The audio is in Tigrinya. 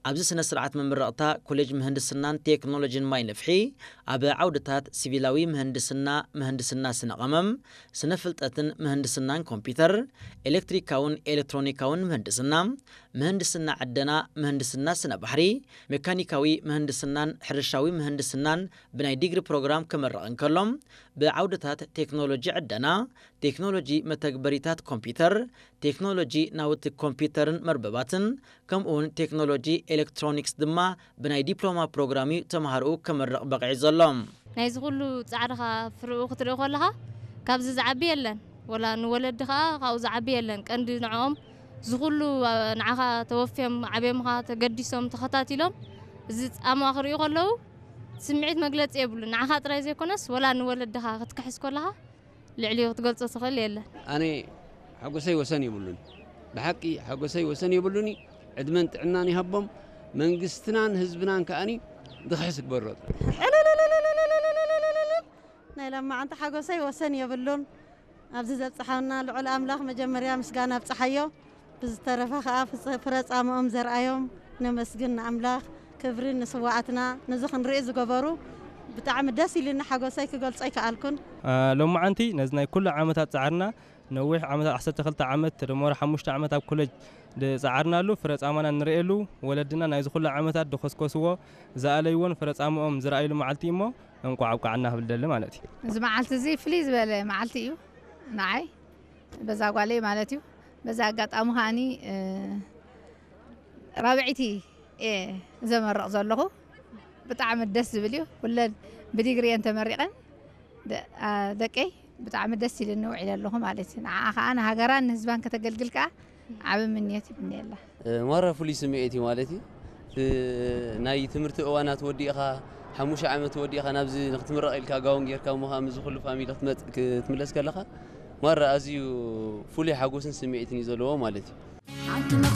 ኣብዚ ስነ ስርዓት መመረቕታ ኮሌጅ ምህንድስናን ቴክኖሎጂን ማይ ነፍሒ ኣብ ዓውድታት ሲቪላዊ ምህንድስና፣ ምህንድስና ስነ ቀመም፣ ስነ ፍልጠትን ምህንድስናን ኮምፒውተር፣ ኤሌክትሪካውን ኤሌክትሮኒካውን ምህንድስና፣ ምህንድስና ዕደና፣ ምህንድስና ስነ ባሕሪ፣ ሜካኒካዊ ምህንድስናን ሕርሻዊ ምህንድስናን ብናይ ዲግሪ ፕሮግራም ክምረቕ እንከሎ፣ ብዓውድታት ቴክኖሎጂ ዕደና፣ ቴክኖሎጂ መተግበሪታት ኮምፒውተር፣ ቴክኖሎጂ ናውቲ ኮምፒውተርን መርበባትን፣ ከምኡውን ቴክኖሎጂ ኤሌክትሮኒክስ ድማ ብናይ ዲፕሎማ ፕሮግራም እዩ ተምሃርኡ ከመርቕ በቒዑ ዘሎ። ናይዚ ኩሉ ጻዕርኻ ፍርኡ ክትርኢ ከለኻ ካብዚ ዝዓቢ የለን። ወላ ንወለዲ ኸኣ ካብኡ ዝዓቢ የለን። ቀንዲ ንዕኦም እዚ ኩሉ ንዓኻ ተወፍዮም ዓብዮምኻ ተገዲሶም ተኸታቲሎም እዚ ጻምዋ ክርእዩ ከለዉ ስምዒት መግለጺ የብሉን። ንዓኻ ጥራይ ዘይኮነስ ወላ ንወለድኻ ክትክሕስ ከለኻ ልዕሊኡ ክትገልጾ ትኽእል የለን። ኣነ ሓጎሰይ ወሰን የብሉን። ብሓቂ ሓጎሰይ ወሰን የብሉን። ዕድመን ጥዕናን ይሃቦም። መንግስትናን ህዝብናን ከኣኒ ድኽሕስ ግበሮ። ናይ ለማዓንቲ ሓጎሰይ ወሰን የብሉን። ኣብዚ ዘብጽሓና ልዑል ኣምላኽ መጀመርያ ምስጋና ኣብጽሓዮ። ብዝተረፈ ከኣ ፍጽ-፣ ፍረ ጻምኦም ዘርኣዮም ነመስግን ንኣምላኽ። ክብሪ ንስዋኣትና። ነዚ ክንርኢ ዝገበሩ ብጣዕሚ ደስ ኢሉኒ፣ ሓጎሰይ ክገልጾ ኣይከኣልኩን። አ፣ ሎማዓንቲ ነዚ ናይ ኩሉ ዓመታት ጻዕርና፣ ነዊሕ ዓመታት፣ ዓሰርተ ክልተ ዓመት ተደመረ ሓሙሽተ ዓመት ኣብ ኮሌጅ ዝጸዓርናሉ ፍረ ጻማና ንርእየሉ፣ ወለድና ናይዚ ኩሉ ዓመታት ዝኮስኮስዎ፣ ዝኣለይዎን ፍረ ጻምኦም ዝረኣይሉ መዓልቲ እሞ እንቋዕ ኣብቃዓና ክብል ደሊ ማለት እዩ። እዚ መዓልቲ እዚ ፍልይ ዝበለ መዓልቲ እዩ ንዓይ፣ በዛ ጓለይ ማለት እዩ። በዛ ኣጋጣሚ ከኣኒ፣ እ፣ ራብዐይቲ እየ ዘመርቕ ዘለኹ። ብጣዕሚ ደስ ዝብል እዩ። ኩለን ብዲግሪ እየን ተመሪቐን። ደ-፣ አ፣ ደቀይ ብጣዕሚ ደስ ኢሉኒ ውዒለ ኣለኹ ማለት እዩ። ንዓኣ ከኣ ንሃገራን ንህዝባን ከተገልግል ከኣ ዓቢ ምንዮት ይምነየላ። እ፣ ማራ ፍሉይ ስምዒት እዩ ማለት እዩ። እቲ ናይ ትምህርቲ እዋናት ወዲእኻ፣ ሓሙሽተ ዓመት ወዲእኻ ናብዚ ንክትምረቕ ኢልካ ጋውን ጌርካ እሞ ከኣ ምስዚ ኩሉ ፋሚሊ ክትመጽእ፣ ክትምለስ ከለኻ ማራ ኣዝዩ ፍሉይ ሓጎስን ስምዒትን እዩ ዘለዎ ማለት እዩ።